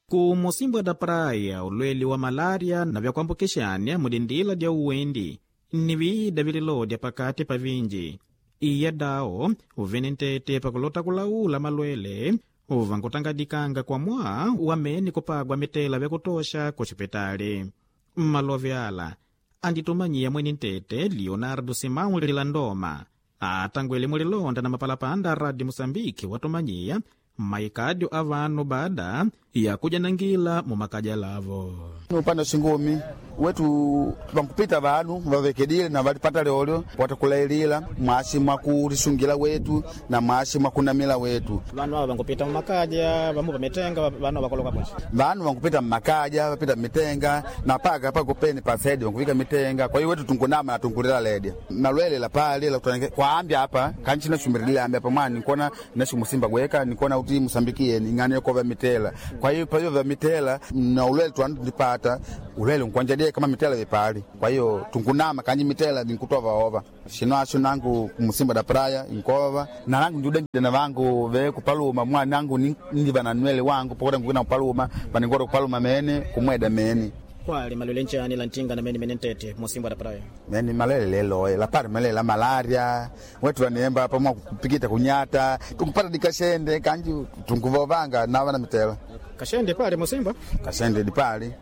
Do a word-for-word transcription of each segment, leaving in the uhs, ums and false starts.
Ku Mocímboa da Praia, ulwele wa malária na vyakuambukixania mudindila dya uwendi ni viida vililodya pakati pa vinji. Iya dao uvene ntete pakulota kulaula malwele uvankutangadikanga kwa mwaa wamene kupagwa mitela vyakutosha kuxipitali. Mmalove ala anditumanyiya mwene ntete Leonardo Simão Lilandoma atangwele mulilonda na mapalapanda a Rádio Moçambique watumanyiya maikadio a vanu baada ya kujanangila mumakaja lavo. Upande wa shingumi wetu vankupita vanu vavekedile na valipata lyolyo watakulailila mwashi mwakulisungila wetu na mwashi mwakunamila wetu. Vanu ava vankupita mumakaja vamu vamitenga vanu vakoloka bwaci Vanu vankupita mmakaja vapita mmitenga na paka pakupeni pasedi vankuvika mitenga. Kwa hiyo wetu tunkunama na tunkulila ledya malwele la pali la kutanike kwa ambya apa kanchi nashumirilile ambya apa mwani nkona nashimusimba gweka nikona uti musambikie ing'ano yokova mitela. Kwa hiyo pahiyo vya mitela na ulwele twanu tulipata ulwele nkwanjadie kama mitela vipali. Kwa hiyo tunkunama kanji mitela vinkutova ova shino asho nangu kumusimba da praia inkova na nangu ndiudenjide na vangu ve kupaluma mwana nangu ni- ndiva na nwele wangu pokota nkukina kupaluma vaningota kupaluma mene kumweda mene kwali malwele nchani la ntinga na mene mene ntete Mocímboa da Praia. mene malele leloye lapari malele la malaria wetu vanemba pamwa kupikita kunyata tukupata dikashende kanji tunkuvovanga nava na mitela Kashende pale Mocímboa kashende dipali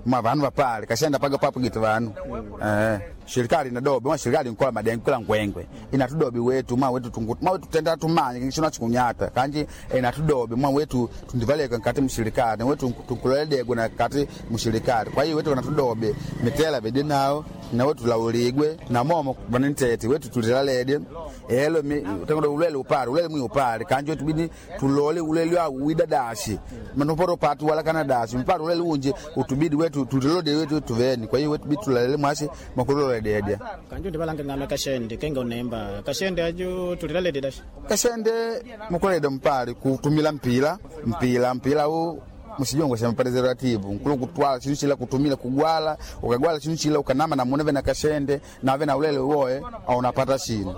mwa vanu vapali kashende paga papugita vanu eh shirikali inadobi mwa shirikali nkola madengo kila ngwengwe inatudobi wetu mwa wetu tungu mwa wetu tenda tumanye kishona chikunyata kanji inatudobi mwa wetu tundivaleka nkati mshirikali wetu tunkuloledegwe na kati mshirikali kwa hiyo wetu kanatudobi mitela bedi nao na wetu lauligwe na momo vanintete wetu tulilalede elo tangodo ulele upale ulele mwi upale kanji wetu bidi tulole ulele wa widadashi manoporo patu wala kana dashi mpare ulele unje utubidi wetu tulilode wetu tuveni kwa hiyo wetu bidi tulalele mwashi makulole dedia kanju ndivalanga ng'ano kashende kenga unemba kashende ajo tulilalede dashi kashende mukulede mpale kutumila mpila mpila mpila u musijongo sha preservative nkulu kutwala chinu chila kutumila kugwala ukagwala chinu chila ukanama na muneve na kashende nave na ulele woe au unapata shinu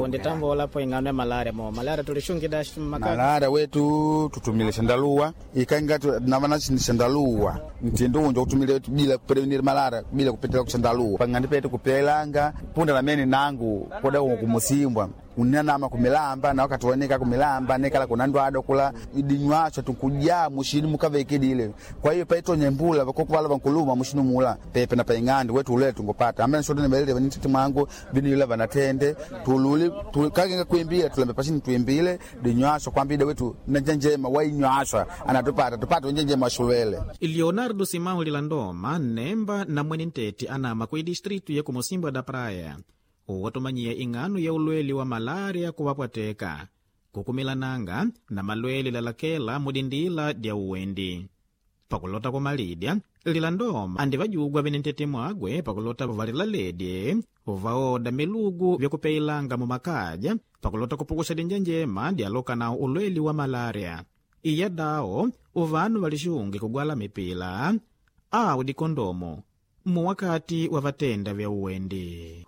nditambola ing'ano ya malaria mo malaria tulishungi dashi makaja malaria wetu tutumile shandaluwa ikanga navana shandaluwa mtindo unja kutumile wetu bila kuprevenir malaria bila kupitila kushandaluwa pangandi petu kupelanga punda lamene nangu koda kumusimbwa unanama kumilamba na wakati waneka kumilamba nekala kuna ndwado kula idinywacho tukujaa mushini mukavekedile kwa hiyo paitonya mbula vakokuvala vankuluma mushini mula pepe na paing'andi wetu ulele tungopata amene shote nibalile vanititi mwangu vinila vanatende tululi tu- kakenga kuimbila tulambe pashini tuimbile dinywasho kwambida wetu nanjenjema wainywashwa anatupata tupate unjenjema washulwele Leonardo Simão Lilandoma nemba na mwene ntete anama ku distritu ya ku Mocímboa da Praia watumanyiya ing'ano ya ulwele wa malaria kuwapwateka kukumilananga na malwele lalakela mudindila dya uwendi. Pakulota kumalidya Lilandoma andivajugwa vene ntete mwagwe pakulota valilaledye vaoda milugu vyakupeilanga mumakaja pakulota kupukusha dinja njema dyaloka nawo ulweli wa malaria. Iya dao uvanu valixunge kugwala mipila awu dikondomo muwakati wa vatenda vya uwendi.